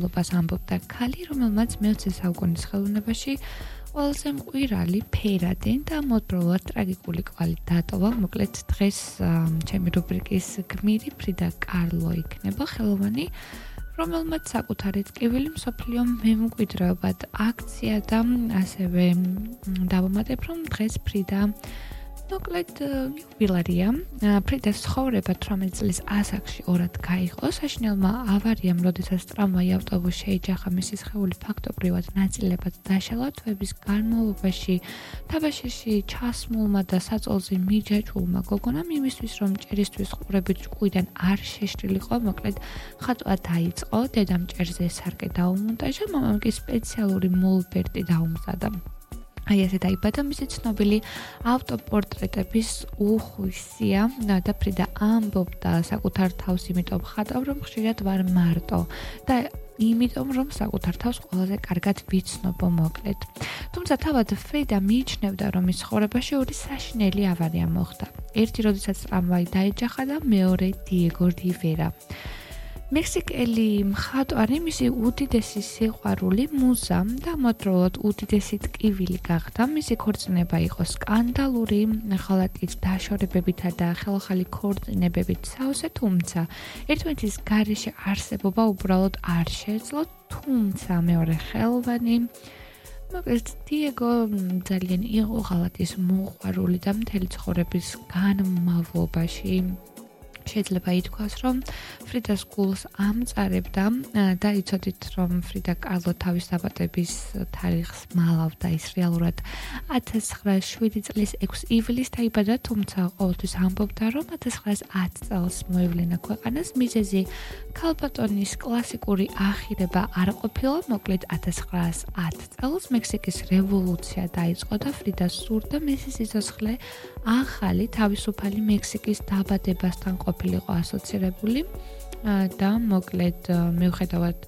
ლობას ამბობდა ქალი, რომელმაც მე-20 საუკუნის ხელოვნებაში ყველაზე მკვირალი, ფერადი და ამავდროულად ტრაგიკული კვალი დატოვა. მოკლედ დღეს ჩემი რუბრიკის გმირი ფრიდა კარლო იქნება ხელოვანი, რომელმაც საკუთარი ტკივილი მსოფლიო მემკვიდრეობად აქცია და ასევე დავამატებ, რომ დღეს ფრიდა მოკლედ იუბილეია. ფრიდას ცხოვრება 18 წლის ასაკში ორად გაიღო. საშინელმა ავარიამ, როდესაც ტრამვაი ავტობუსი შეიჯახა, მისი სხეული ფაქტობრივად ნაწილებად დაშალა. თვეების განმავლობაში თაბაშირში ჩასმულმა და საწოლზე მიჯაჭვულმა გოგონამ იმისთვის, რომ ჭერისთვის ყურები ჭკუიდან არ შეშლილიყო, მოკლედ ხატვა დაიწყო. დედამ ჭერზე სარკე დაუმონტაჟა, მამამ კი სპეციალური მოლბერტი დაუმზადა. აი ესე დაიბადა მისი ცნობილი ავტოპორტრეტების უხვისია და ფრიდა ამბობდა საკუთარ თავს იმიტომ ხატავ, რომ ხშირად ვარ მარტო და იმიტომ რომ საკუთარ თავს ყველაზე კარგად ვიცნობო მოკლედ. თუმცა თავად ფრიდა მიიჩნევდა, რომ ის ცხოვრებაში ორი საშინელი ავარია მოხდა. ერთი, როდესაც ტრამვაი დაეჯახა და მეორე დიეგო რივერა. მექსიკელი მხატვარი მისი უდიდესი სიყვარული მუზა და ამავდროულად უდიდესი ტკივილი გახდა. მისი ქორწინება იყო სკანდალური, ხალატით დაშორებებითა და ხელახალი ქორწინებებით სავსე, თუმცა ერთმანეთის გარეშე არსებობა უბრალოდ არ შეეძლო, თუმცა მეორე ხელოვანი მოკლედ დიეგო ძალიან იყო ხალატის მოყვარული და მთელი ცხოვრების განმავლობაში შეიძლება ითქვას, რომ ფრიდას გულს ამწარებდა და იცოდით, რომ ფრიდა კარლო თავის დაბადების თარიღს მალავდა. ის რეალურად 1907 წლის 6 ივლისს დაიბადა, თუმცა ყოველთვის ამბობდა, რომ 1910 წელს მოევლინა ქვეყანას. მიზეზი ქალბატონის კლასიკური ახირება არ ყოფილა. მოკლედ 1910 წელს მექსიკის რევოლუცია დაიწყო და ფრიდა სურდა მისი სიცოცხლე ახალი თავისუფალი მექსიკის დაბადებასთან ყოფილიყო ასოცირებული და მოკლედ მიუხედავად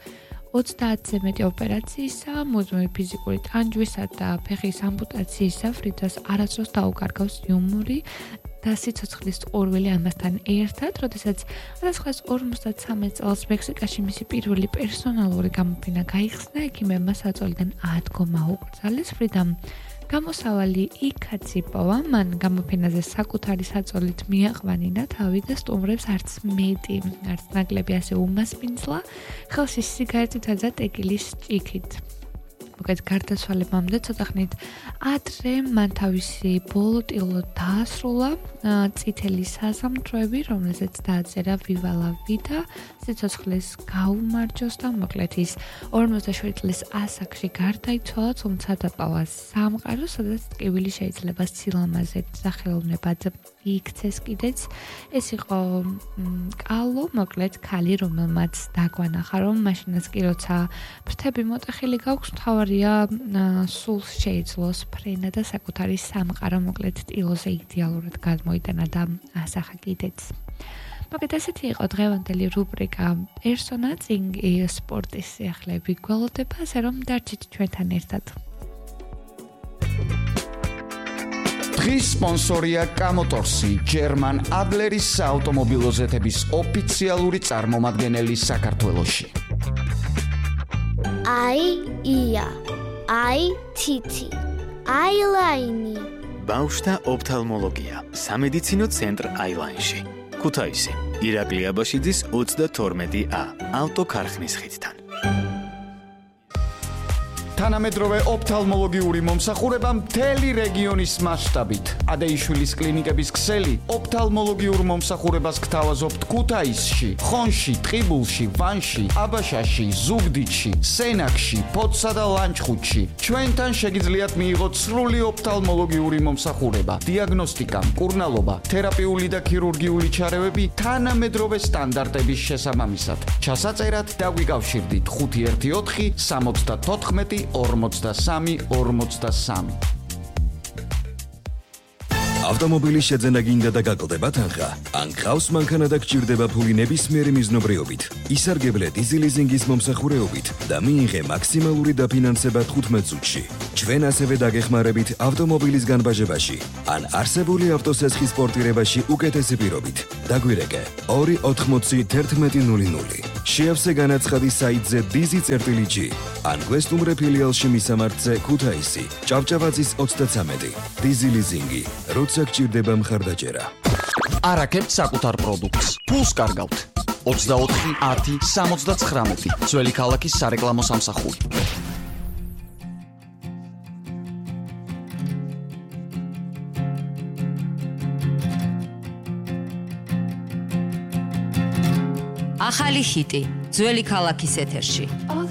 30-ზე მეტი ოპერაციისა, მუდმივი ფიზიკური ტანჯვისა და ფეხის ამპუტაციისა, ფრიდას არასდროს დაუკარგავს იუმორი და სიცოცხლის ყურვილი ამასთან ერთად, როდესაც 1953 წელს მექსიკაში მისი პირველი პერსონალური გამოფენა გაიხსნა, ექიმებმა საწოლიდან ადგომა უკრძალეს. ფრიდამ გამოსავალი იქაც იპოვა, მან გამოფენაზე საკუთარი საწოლით მიაყვანინა თავი და სტუმრებს არც მეტი, არც ნაკლები ასე უმასპინძლა, ხელში სიგარეტითა და ტეკილის ჭიქით. მოკლედ გარდაცვალებამდე ცოტა ხნით ადრე მან თავისი ბოლოტილო დაასრულა წითელი საზამთროები, რომელზეც დააწერა ვივა ლა ვიდა, სიცოცხლეს გაუმარჯოს და მოკლედ ის 57 წლის ასაკში გარდაიცვალა, თუმცა დატოვა სამყარო, სადაც ტკივილი შეიძლება სილამაზედ და ხელოვნებად იქცეს კიდეც. ეს იყო კალო, მოკლედ ქალი, რომელმაც დაგვანახა, რომ მაშინაც კი როცა ფრთები მოტეხილი გაქვს, მთავარია სულს შეეძლოს ფრენა და საკუთარი სამყარო მოკლედ ტილოზე იდეალურად გადმოიტანა და ასახა კიდეც. მოკლედ ასეთი იყო დღევანდელი რუბრიკა პერსონა, წინ სპორტის სიახლეები გველოდება, ასე რომ დარჩით ჩვენთან ერთად. დღის სპონსორია კამოტორსი, ჯერმან ადლერის საავტომობილო ზეთების ოფიციალური წარმომადგენელი საქართველოში. ია, თითი, აილაინი. ბავშვთა ოფთალმოლოგია, სამედიცინო ცენტრ აილაინში. ქუთაისი, ირაკლი აბაშიძის 32A, ავტოქარხნის ხიდთან. თანამედროვე ოფთალმოლოგიური მომსახურება მთელი რეგიონის მასშტაბით. ადეიშვილის კლინიკების ქსელი ოფთალმოლოგიურ მომსახურებას გთავაზობთ ქუთაისში, ხონში, ტყიბულში, ვანში, აბაშაში, ზუგდიდში, სენაკში, ფოთსა და ლანჩხუთში. ჩვენთან შეგიძლიათ მიიღოთ სრული ოფთალმოლოგიური მომსახურება, დიაგნოსტიკა, მკურნალობა, თერაპიული და ქირურგიული ჩარევები თანამედროვე სტანდარტების შესაბამისად. ჩასაწერად დაგვიკავშირდით 514 74 43. ავტომობილის შეძენა გინდა და გაკლდება თანხა, ან გყავს მანქანა და გჭირდება ფული ნებისმიერი მიზნობრიობით. ისარგებლე დიზილიზინგის მომსახურეობით და მიიღე მაქსიმალური დაფინანსება 15 წუთში. ჩვენ ასევე დაგეხმარებით ავტომობილის განბაჟებაში, ან არსებული ავტოსესხის პორტირებაში უკეთესი პირობით. დაგვირეკე 2801100. შეავსე განაცხადი საიტზე dizi.g ან გვესტუმრე ფილიალში მისამართზე ქუთაისი, ჭავჭავაძის 33. დიზილიზინგი, როცა გჭირდება მხარდაჭერა. არაკებთ საკუთარ პროდუქტს. ფულს კარგავთ. 24 10 79 ძველი ქალაქის სარეკლამო სამსახური. ახალი ჰიტი ძველი ქალაქის ეთერში.